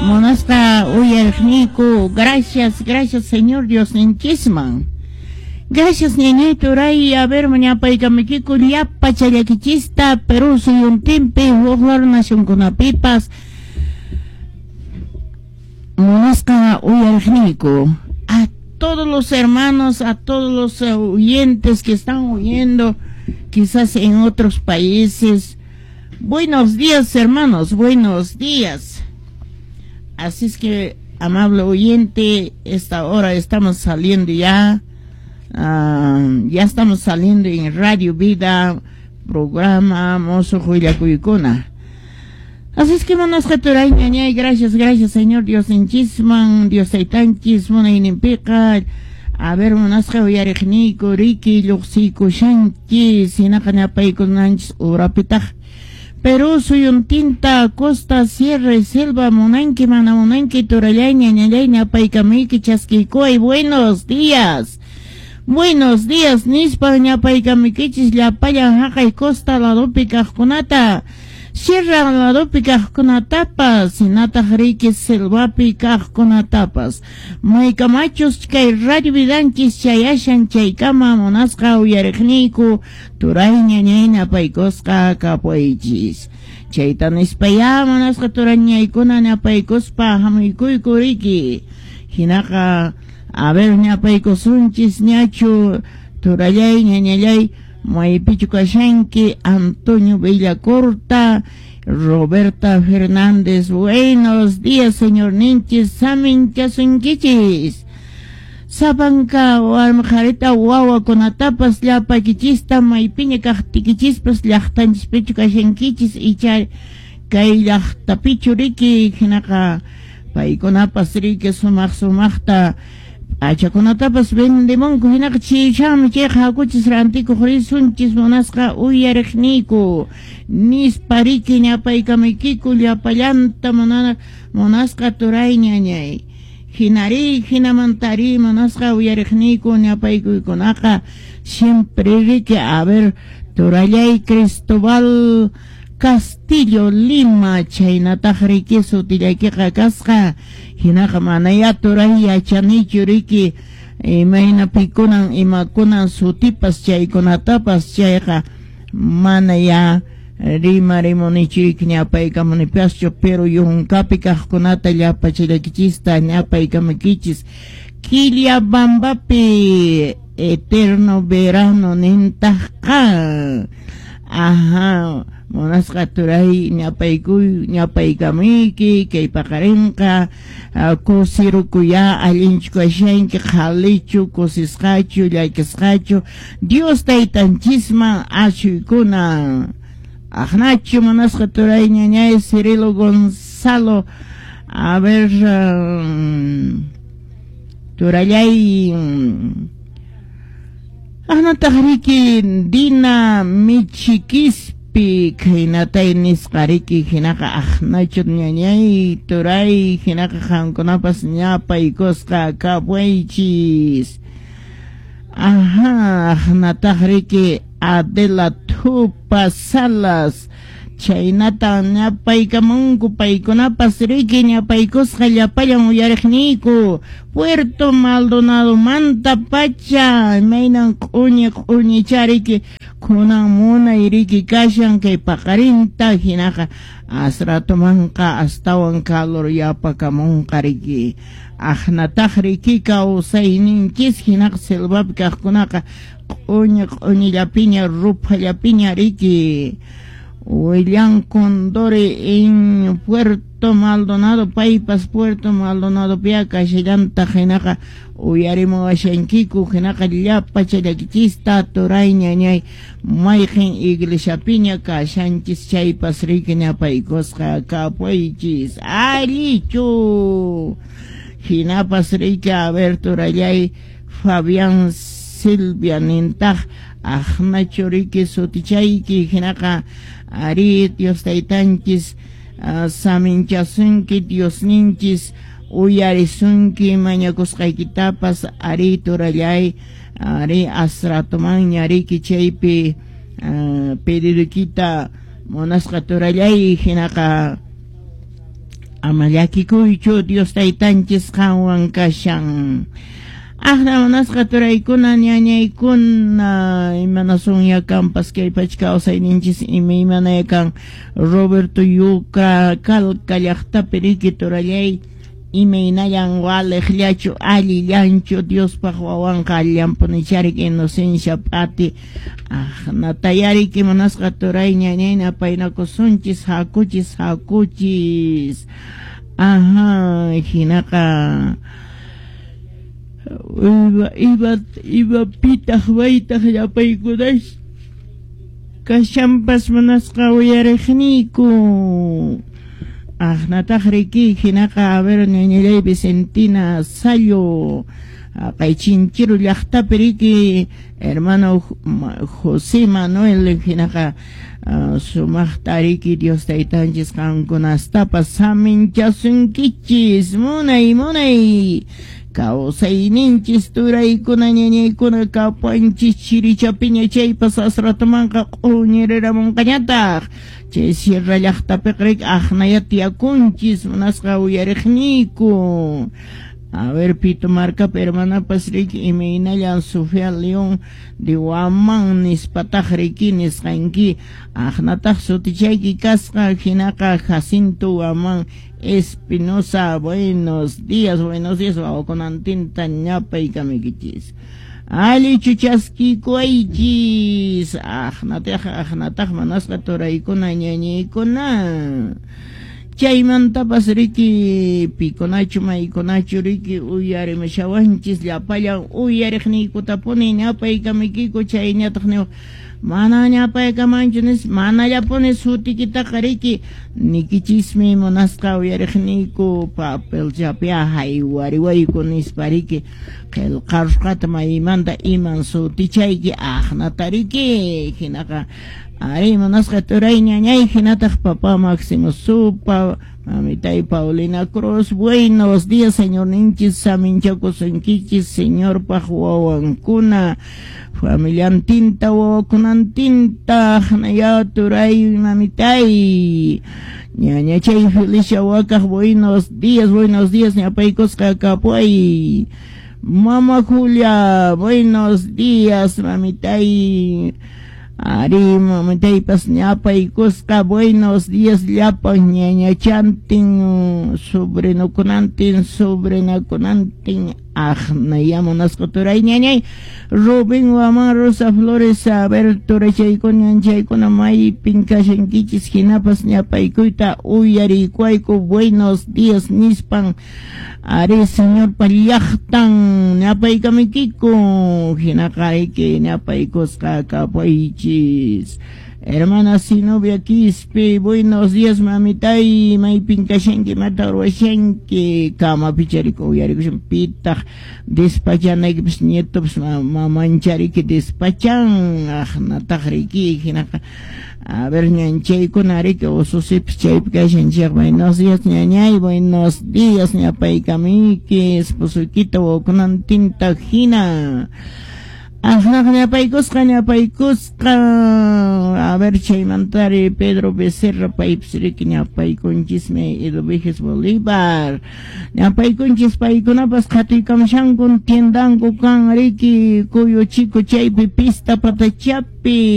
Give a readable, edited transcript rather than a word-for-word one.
Munasqa uyariqniyku, gracias, gracias Señor Diosninchisman. Gracias ñañay turay, a ver ñapaykamukiku llapa challakichista Perú suyuntinpi huk lado nacionkunapipas. Munasqa uyariqniyku, a todos los hermanos, a todos los oyentes que están oyendo quizás en otros países. Buenos días, hermanos, buenos días. Así es que, amable oyente, esta hora estamos saliendo ya, ya estamos saliendo en Radio Vida, programa Mozo Huillakuykuna. Así es que munasqa turay ñañay, gracias, gracias Señor Diosninchisman, Dios taytanchis munayninpiqa. A ver, munasqa uyariqniyku, riki lluqsiykushanchis, hinaqa ñapaykunanchis urapitaq. Perú suyuntinta, costa, sierra y selva, munanki, mana munanki, turallay, ñañallay, ñapaykamuyki, chaskiykuway, buenos días. Buenos días, nispa ñapaykamuykichis llapallan haqay costa ladopi kaqkunata, sierra ladopi kaqkunatapas, hinataq riki selvapi kaqkunatapas. Maykamachus kay Radio Vidanchis chayashan chaykama munasqa uyariqniyku, turay ñañay ñapaykusqa kapuychis. Chayta nispayá munasqa turañaykuna ñapaykuspa hamuykuyku riki. Hinaqa, a ver, ñapaykusunchis ñachu turallay ñañallay maypichu kashanki Antonio Villacorta, Roberta Fernández. Buenos días, señor ninchis, saminchasunkichis. Sapanka warmi qharita wawakunatapas llapakichista maypiña kaqtikichispas llaqtanchispichu kashankichis icha kay llaqtapichu riki hinaqa paykunapas riki sumaq sumaqta p'achakunatapas vendemunku hinaqa chiychanmi chayqa hakuchis rantikuq risunchis munasqa uyariqniyku nispa riki ñapaykamuykiku llapallanta munasqa turay ñañay. Hinari hinamantari munasqa uyariqniyku ñapaykuykunaqa siempre riki a ver turallay Cristobal Castillo Lima chaynataq riki sutillaykiqa kasqa hinaqa manaya turay yachanichu riki imayna pikunan imakunan sutipas chaykunatapas chayqa mana ya rimarimunichu riki ñapaykamunipaschu pero yunkapi kaqkunata llapachallakichista ñapaykamukichis Quillabambapi eterno verano nintaqqa. Ajá, munasqa turay ñapaykuy ñapaykamuyki kay paqarinqa kusirukuya allinchu kashanki qhalichu kusisqachu llakisqachu Dios taytanchisman ashuykuna. Aqnachu munasqa turay ñañay Cirilo Gonzalo, a ver, turallay aqnataq riki Dina Michikispi khaynatay nisqa riki hinaqa aqnachu ñañay turay hinaqa qamkunapas ñapaykusqa kapuychis. Ajá, aqnataq riki Adela Tupa Salas chaynata ñapaykamunku paykunapas riki ñapaykusqa llapallan uyariqniyku Puerto Maldonado manta pacha imaynan q'uñi q'uñicha riki kunan munay riki kashan kay paqarinta hinaqa asratumanqa astawan calor yapakamunqa riki aqnataq riki kawsayninchis hinaqa selvapi kaqkunaqa q'uñi q'uñillapiña ruphallapiña riki William Condori en Puerto Maldonado, paypas Puerto Maldonado pia kashallantaq hinaqa uyarimuwashankiku hinaqa llapa challakichista turay ñañay mayqin iglesiapiña kashanchis chaypas riki ñapaykusqa kapuychis allichu hinapas riki a ver turallay Fabián Silvia nintaq aqnachu riki sutichayki hinaqa ari Dios taytanchis saminchasunki Diosninchis uyarisunki mañakusqaykitapas ari turallay ari asratumanña riki chaypi pedidukita munasqa turallay hinaqa Ama llakikuychu, Dios taytanchis qanwan kashan. Aqna munasqa turaykuna, ñañaykuna, imanasun kampas kay pacha kawsayninchis imaymana kan. Roberto Yuka Kalka llaqtapi riki turallay, imaynallan waliqllachu, allillanchu Diospaq wawanqa allanpunicharik Inocencia P'ati. Aqnatayariki munasqa turay ñañay napaynakusunchis, hakuchis, hakuchis. Aha, hinaqa iba iba pitaq waytaq llapaykunash kashanpas munasqa uyariqniyku. Aqnataq riki hinaqa, a ver, ñañallay Vicentina Sallo, kay Chinchiru llaqtapi riki hermano José Manuel, hinaqa sumaqta riki Dios taytanchis qankunastapas saminchasunkichis. Munay munay kawsayninchis turaykuna ñañaykuna kapuanchis chirichapiña chaypas asratumanqa q'uñiriramunqañataq chay sierra llaqtapiqa riki aqnaya tiyakunchis munasqa uyariqniyku. A ver, Pito Marcapi hermanapas riki imaynallan Sofía León de Guamán nispataq riki nisqanki, aqnataq sutichayki kasqa hinaqa Jacinto Guamán Espinosa, buenos días, wawakunantinta ñapaykamuykichis. Allichu chaskikuwaychis. Aqnataq aqnataq manasqa turaykuna ñañaykuna. Chaymantapas riki pikunachu maykunachu riki uyarimushawanchis llapallan uyariqniykutapuni ñapaykamuykiku chayñataq niwaq mana ñapaykamanchu nis manallapuni sutikitaqa riki nikichismi munasqa uyariqniyku papelchapia haywariwayku nispa riki qillqarusqata maymanta iman sutichayki aqnata riki hinaqa ari munasqa turay ñañay hinataq papá Máximo Supa, mamitay Paulina Cruz, buenos días, señorninchis saminchakusunkichis señorpaq wawankuna familiantinta wawakunantinta ya turay mamitay ñañachay Felicia Wakaq, buenos días, ñapaykusqa kapuay. Mama Julia, buenos días, mamitay. Ari mamitaypas ñapaykusqa, buenos días llapan ñañachantin, sobrinokunantin, sobrinakunantin, aqnaya munasqa turay ñañay. Rubén Guamán, Rosa Flores, a ver, turachaykuna, ñanchaykuna, maypin kashankichis, hinapas ñapaykuyta uyariykuwayku, buenos días nispan, ari señorpa llaqtan ñapaykamuykiku, hinaqa riki ñapaykusqa kapuychis. Hermana Sinovia Quispe, buenos días, mamitay, maypin kashanki, mata ruwashanki, kamapi chariko uyarikushan pitaq despachanaykipas nietopas mamanchariki despachan, aqnataq riki hinaqa a ver ñanchaykuna riki ususipas chaypi kashan chayqa, buenos días ñañay, buenos días ñapaykamuyki, esposoykita wawakunantinta hina. Aqnaq ñapaykusqa ñapaykusqa, a ver chaymantari Pedro Becerra paypas riki ñapaykunchismi Eduviges Bolívar ñapaykunchis paykunapas qhatuykamushankun tiendanku kan riki Cuyo Chico chaypi pista patachapi.